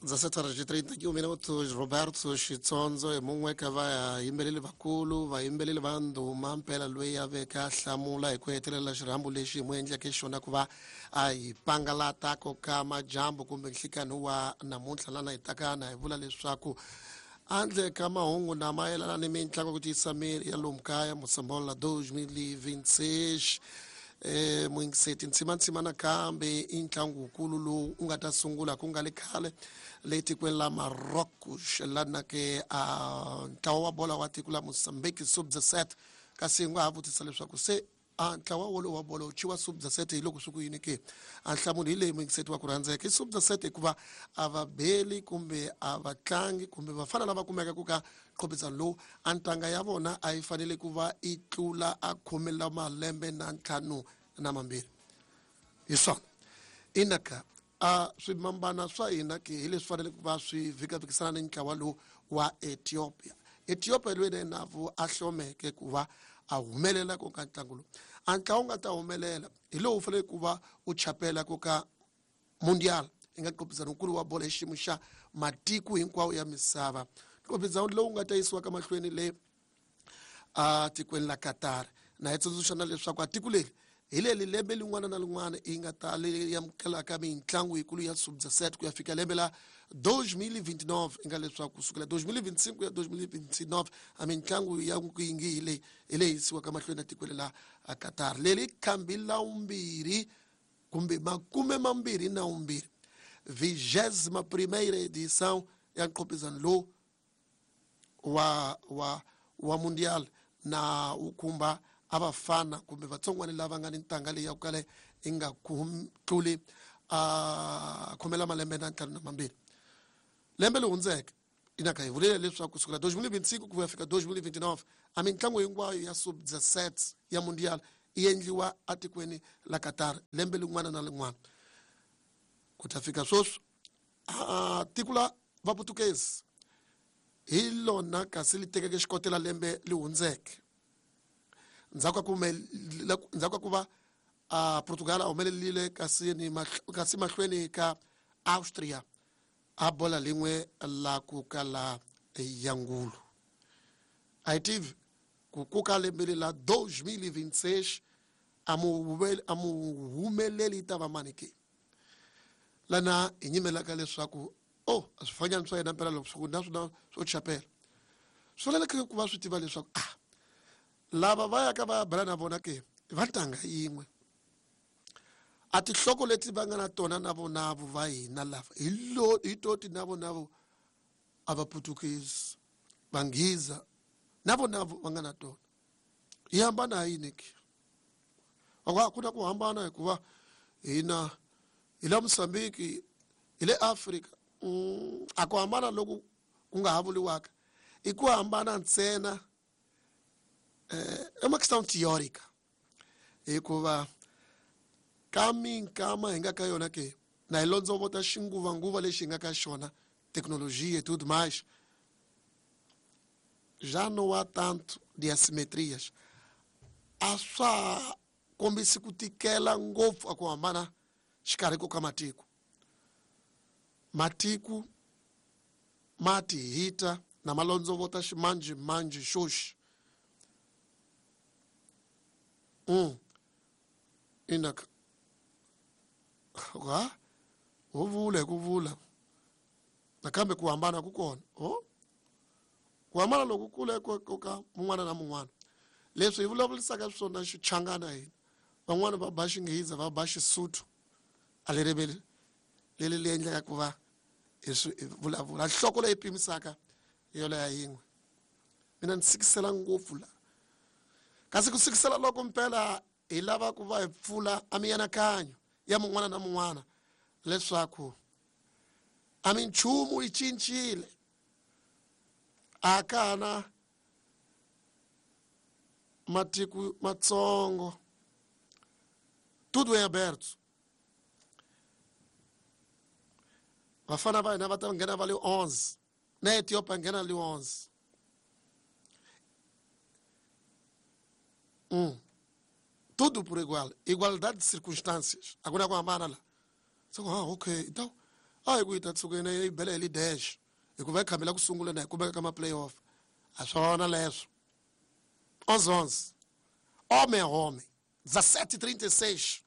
17 horas e 31 minutos. Roberto Xitsondzo hi mun'we ka vayimbeleri vakulu, vayimbeleri va ndhuma mpela, loyi a veke a hlamula hi ku hetelela xirhambo lexi hi mu endleke xona ku va a hi pangalata ko ka majambu kumbe nhlikani wa namuntlha, lana hi takana hi vula leswaku handle ka mahungu na mayelana ni mitlangu ku tiyisa miri ya lomu kaya Mosambola 2026, muyingiseti ntsimantsima nakambe i ntlangu wukulu lowu u nga ta sungula ku nga le khale le tikweni la Marocos, lana ke a ntlawa wa bola wa tiko la Mozambique sub 17. Kasi hi nga ha vutisa leswaku se a ntlawa wolowo wa bolo wu thyiwa sub 17 hi loko swi ku yini ke? A nhlamulo hi leyi, muyingiseti wa ku rhandzeka, i sub 17 hikuva a va beli kumbe a va tlangi kumbe vafana lava kumeka ku ka nqhophisano lowu, a ntanga ya vona a yi fanele ku va yi tlula a khume la malembe na ntlhanu na mambirhi. Hi swona inaka a swimambana swa hina ke hi leswi fanele ku va swi vhikavhikisana ni ntlawa lowu wa Ethiopia. Ethiopia loyi na yena a hlomeke ku va a humelela ku ka ntlangu lowu. A ntlawa wu nga ta humelela hi lowu fanele ku va u chapela ku ka Mundial, yi nga nqophisano nkulu wa bolo hi xiyimo xa matiko hinkwawo ya misava, nqophisano lowu nga ta yisiwaka mahlweni le a tikweni la Qatar. Na hi tsundzuxa na leswaku a tiko leri hi leri lembe lin'wana na lin'wana yi nga ta leyi amukelaka mitlangu yikulu ya sub 17 ku ya fika lembe la 2029, i nga leswaku kusukela 2025 ku ya 2029 a mitlangu ya yingi hi leyi hi leyi yisiwaka mahlweni etikweni la Qatar. Leri khambi la vumbirhi kumbe makume mambirhi na vumbirhi, vigésima primeira edição ya nqophisano lowu wa Mundial, na wu khumba a vafana kumbe vatsongwana lava nga ni ntanga leyi ya ku kala yi nga tluli a khomela malembe na ntlhanu na mambirhi. Lembe leri hundzeke inaka hi vulele leswaku kusukela 2025 ku ya fika 2029 a mitlangu hinkwayo ya sub 17 ya Mundial yi endliwa atikweni la Qatar lembe lin'wana na lin'wana. Ku ta fika sweswi a tiko la Vaputukezi hi lona kasi li tekeke xikotela lembe li hundzeke, ndzhaku ka ku va a Portugal a humelelile kasi ni kasi mahlweni ka Austria a bola lin'we la ku kala ya ngulu. A hi tivi ku kuka lembe leri la 2026 a mu humeleli yi ta va mani ke, lana hi nyimelaka leswaku o a swifanyana swa yena mpela loko swi ku na swona swo chapela swi faneleke ku va swi tiva leswaku a lava va yaka va ya bela na vona ke va ntanga yin'we, a tinhloko leti va nga na tona na vonavo va hina lava hi lo hi toti na vonavo a va Putukezi, Vanghiza na vonavo va nga na tona, yi hambana hi yini ke? A ku na ku hambana hikuva hina hi la Mozambique, hi le Afrika. A ku hambana loku ku nga ha vuriwaka i ku hambana ntsena é uma questão teórica, hikuva ka minkama hi nga ka yona ke na hi londzovota xinguvanguva lexi hi nga ka xona, tecnologia e tudo mais, já não há tanto de assimetrias, a swa kombisi ku tikela ngopfu a ku hambana xikarhi ko ka matiko. Matiko ma ti hita na malondzovota ximanjhemanjhe xoxi. Inaka ha ho vula hi ku vula nakambe ku hambana ku kona, o ku hambana loku kule ko ka mun'wana na mun'wana. Leswi hi vulavurisaka swona xichangana hina, van'wani va ba Xinghiza, va ba Xisuthu, a leri leri li endleka ku va hi swi vulavula nhloko leyi pimisaka yoleya yin'we. Mina ni sikisela ngopfu la, kasi ku sikisela loko mpela hi lava ku va hi pfula a mianakanyo ya mun'wana na mun'wana leswaku a minchumu yi cincile, a ka ha na matiko matsongo, tudo em aberto. Vafana va hina va ta nghena va le 11 na Ethiopia nghena le 11. Tudo por igual, igualdade de circunstâncias, a ku na ku hambana la. So ah, okay, então A hi ku yi ta tshuka yena yi bela hi li dash hikuva yi khamela ku sungula na hi kumeka ka ma-playoff. A swona leswo. 11 11 homem, homem, 17:36.